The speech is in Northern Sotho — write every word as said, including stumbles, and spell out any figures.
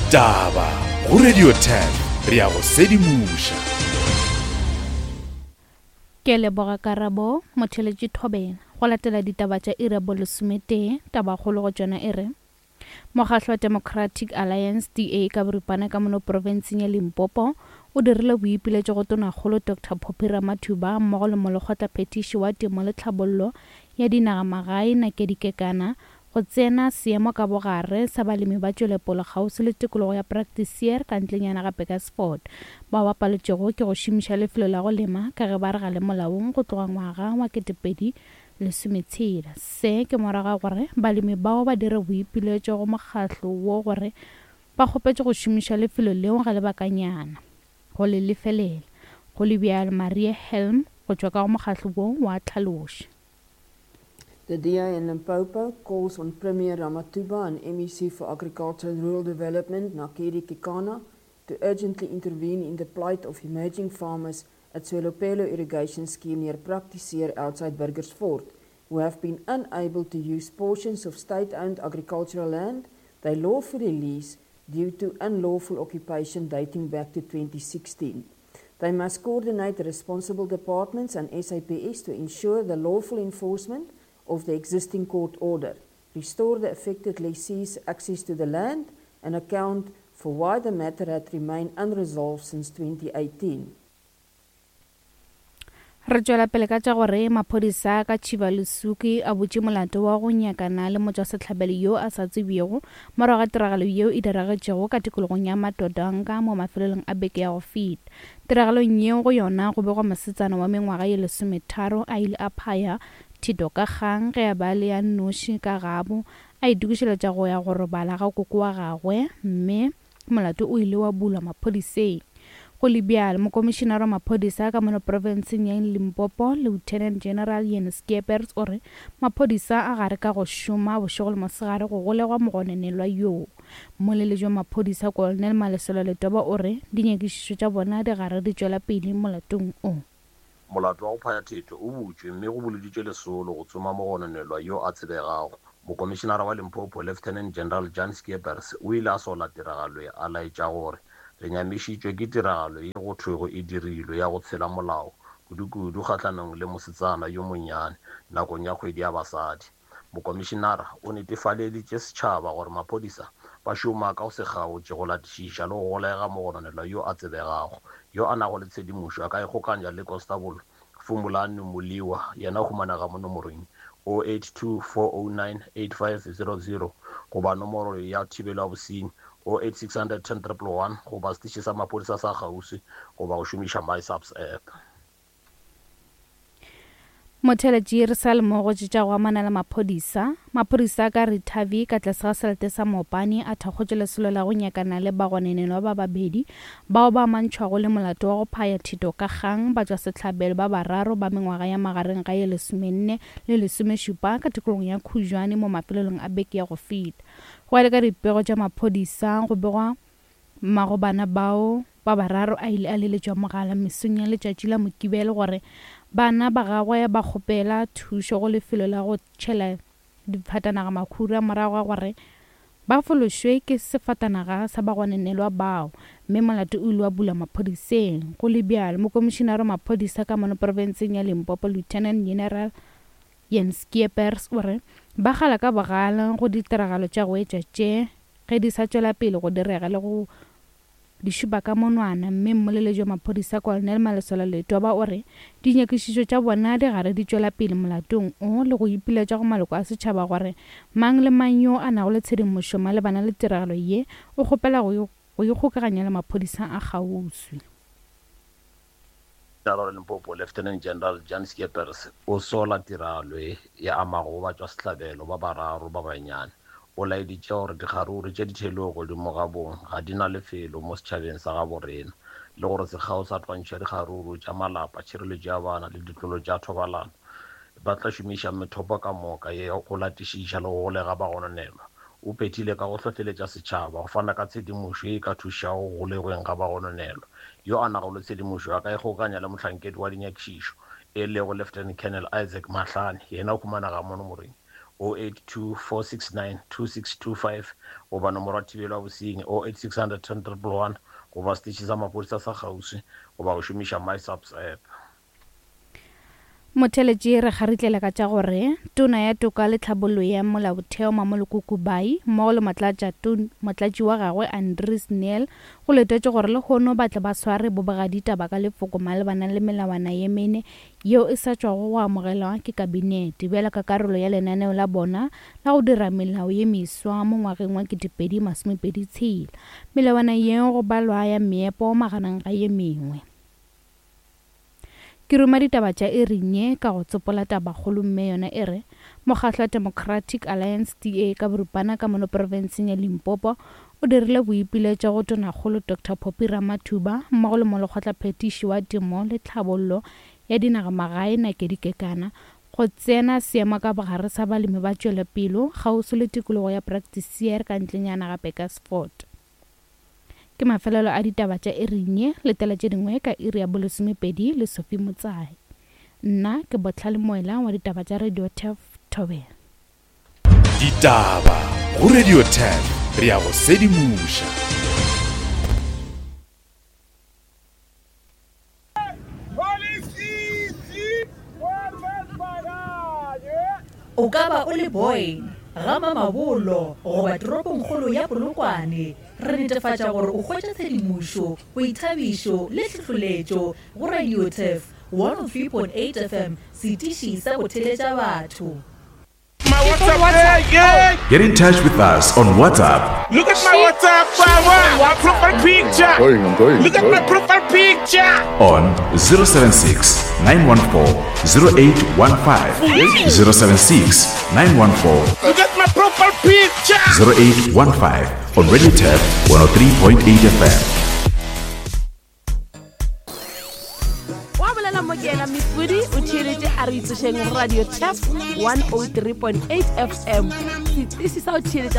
Ditaba go Radio ten, re ya go sedimoša. Ke leboga karabo motheletši Thobela. Go latela ditaba tša iri ya bolesometee, tabakgolo go tšona e re Mokgatlo wa Democratic Alliance D A ka boripana ka mono profenseng ya Limpopo o dirile boipiletšo go tonakgolo Doctor Phophi Ramathuba mmogo le molekgotlaphethiši wa temo le tlhabollo ya dinagamagae Nakedi Kekana go tsena seemo ka bogare sa balemi ba tšwelepolo kgauswi le tikologo ya Praktiseer ka ntlenyana ga Burgersfort bao ba paletšego ke go šomiša lefelo la go lema ka ge ba re ga le molaong go tloga ngwaga wa ketepedi lesometshela. Se ke morago ga gore balemi bao ba dire boipiletšo go mokgatlo wo gore ba kgopetše go šomiša lefelo leo ga lebakanyana go le lefelela. Go le bjalo, Maria Helm go tšwa ka go mokgatlo wo wa tlhaloša. The D A in Limpopo calls on Premier Ramathuba and M E C for Agriculture and Rural Development, Nakedi Kekana, to urgently intervene in the plight of emerging farmers at Tswelopele Irrigation Scheme near Praktiseer outside Burgersfort, who have been unable to use portions of state-owned agricultural land they lawfully lease due to unlawful occupation dating back to twenty sixteen. They must coordinate the responsible departments and S A P S to ensure the lawful enforcement of the existing court order, restore the affected lessees' access to the land, and account for why the matter had remained unresolved since twenty eighteen. Re tšwela pele ka tša gore maphodisa ka Tšhibalusuki a butše molato wa go nyakana le motšwasehlabelo yo a sa tsebjego morago ga tiragalo yeo e diragetšego ka tikologong ya Matodanga mo mafelelong a beke ya go feta. Tiragalong yeo go yona go begwa mosetsana wa mengwaga ye lesometharo a ile a phaya thito ka kgang ge a ba le ya nnoši ka gabo a itokišeletša go ya go robala ga koko wa gagwe, mme molato o ile wa bulwa maphodiseng. Go le bjalo, mokomišenara wa maphodisa ka mono profenseng ya Limpopo, Lieutenant General Jan Skeepers, o re maphodisa a gare ka go šoma bošego le mosegare go golegwa mogononelwa yoo. Mmoleledi wa maphodisa Colonel Malesela Letoba o re dinyakišišo tša bona di gare di tšwela pele molatong o. Molato wa go phaya thetho o butšwe mme go boloditšwe lesolo go tsoma mogononelwa yo a tsebegago. Mokomišenara wa Limpopo, Lieutenant General Jan Skeepers, o ile a sola tiragalo ye, a laetša gore re nyamišitšwe ke tiragalo ye go thwego e dirilwe ya go tshela molao kudu-kudu kgahlanong le mosetsana yo monnyane nakong ya kgwedi ya basadi. Mokomišenara o netefaleditše setšhaba gore maphodisa ba šoma ka go se kgaotše go latišiša le go golega mogononelwa yo a tsebegago yo a nago le tshedimošo a ka ikgokanya le Constable Fumulani Muliwa, yena o humanega mo nomorong oh eight two four oh nine eight five zero zero goba nomoro ya thibelo ya bosenyi oh eight six hundred ten triple one goba setiši sa maphodisa sa kgauswi goba go šomiša MySAPS app. Motheletši re sa le mo go tša go amana le maphodisa. Maphodisa ka Ritavi ka tlase ga selete sa Mopani a thakgotše lesolo la go nyakana le bagononelwa ba babedi bao ba amantšhwago le molato wa go phaya thito ka kgang ba tšwa sehlabelo ba bararo ba mengwaga ya magareng ga ye lesomenne le lesomešupa ka tikologong ya Khujwane mo mafelelong a beke ya go feta. Go ya le ka dipego tša maphodisa go begwa mmago bana bao ba bararo a ile a leletšwa mogala mesong ya letšatši la Mokibelo gore bana ba gagwe ba kgopela thušo go lefelo la go tšhela difatanaga makhura morago ga gore ba fološwe ke sefatanaga sa bagononelwa bao, mme molato o ile wa bulwa maphodiseng. Go le bjalo, mokomišenara wa maphodisa ka mono profenseng ya Limpopo, Lieutenant General Jan Skeepers, o re ba kgala ka bogale go ditiragalo tša go etša tše ge di sa tšwela pele go direga le go di šupa ka monwana. Mme mmoleledi wa maphodisa Colonel Malesela Letoba o re dinyakišišo tša bona di gare di tšwela pele molatong o le go ipiletša go maloko a setšhaba gore mang le mang yo a nago le tshedimošo malebana le tiragalo ye o kgopela go ikgokaganya le maphodisa a kgauswi. Limpopo, Lieutenant General Jan Skeepers o sola tiragalo ye ya amago batšwasehlabelo ba bararo ba banyane. O laeditše gore dikgaruru tše di theilwego godimo ga bong ga di na lefelo mo setšhabeng sa gabo rena, le gore sekgao sa twantšho ya dikgaruru tša malapa, tšhireletšo ya bana le ditlolo tša thobalano ba tla šomiša methopo ka moka ye go latišiša le go golega bagononelwa. O phethile ka go hlohleletša setšhaba go fana ka tshedimošo ye e ka thušago go golegweng ga bagononelwa. Yo a nago le tshedimošo a ka ikgokanya le mohlankedi wa dinyakišišo e lego Lieutenant Colonel Isaac Mahlane, yena o humanega mo nomorong oh eight two four six nine two six two five goba nomoro ya thibelo ya bosenyi oh eight six hundred ten triple one goba seteše sa maphodisa sa kgauswi goba go šomiša MySAPS app. Motheletši re kgaritlela ka tša gore tona ya toka le tlhabollo ya molaotheo Mamoloko Kubai mmogo le motlatši wa gagwe Andries Nel go letetše gore lehono ba tle ba sware bobegaditaba ka lefoko malebana le melawana ye mene yeo e sa tšwago go amogelwa ke kabinete bjalo ka karolo ya lenaneo la bona la go dira melao ye meswa mo ngwageng wa ketepedi masomepedi tshela. Melawana yeo go balwa ya meepo magareng ga ye mengwe. Ke ruma ditaba tša iring ye ka go tsopola tabakgolo mme yona e re mokgatlo wa Democratic Alliance D A ka boripana ka mono profenseng ya Limpopo o dirile boipiletšo go tonakgolo Doctor Phophi Ramathuba mmogo le molekgotlaphethiši wa temo le tlhabollo ya dinagamagae Nakedi Kekana go tsena seemo ka bogare sa balemi ba tšwelopele kgauswi le tikologo ya Practiceer ka ntlenyana ga Bakersford. Ke mafelelo a ditaba tša iring ye, letela tše dingwe ka iri ya bolesomepedi le Sophie Motsai. Nna ke Botlhale Moela wa ditaba tša Radio Turf Thobela. Ditaba go Radio Turf, re ya go sedimoša. O ka ba o le boy ga Mamabolo goba toropongkgolo ya Polokwane, re netefatša gore o hwetša tshedimošo, boithabišo le tlhohleletšo go Radio Turf one oh three point eight F M, setiši sa go theletša batho. My WhatsApp, yeah. Get in touch with us on WhatsApp. Look at my WhatsApp, my profile picture. I'm going, I'm going, Look I'm at going. my profile picture. On zero seven six, nine one four, zero eight one five. zero seven six, nine one four. Look at my profile picture. zero eight one five on Radio Turf one oh three point eight F M. Mifudi o theeletše a re itsošeng Radio Turf one oh three point eight F M. Setiši sa go theeletša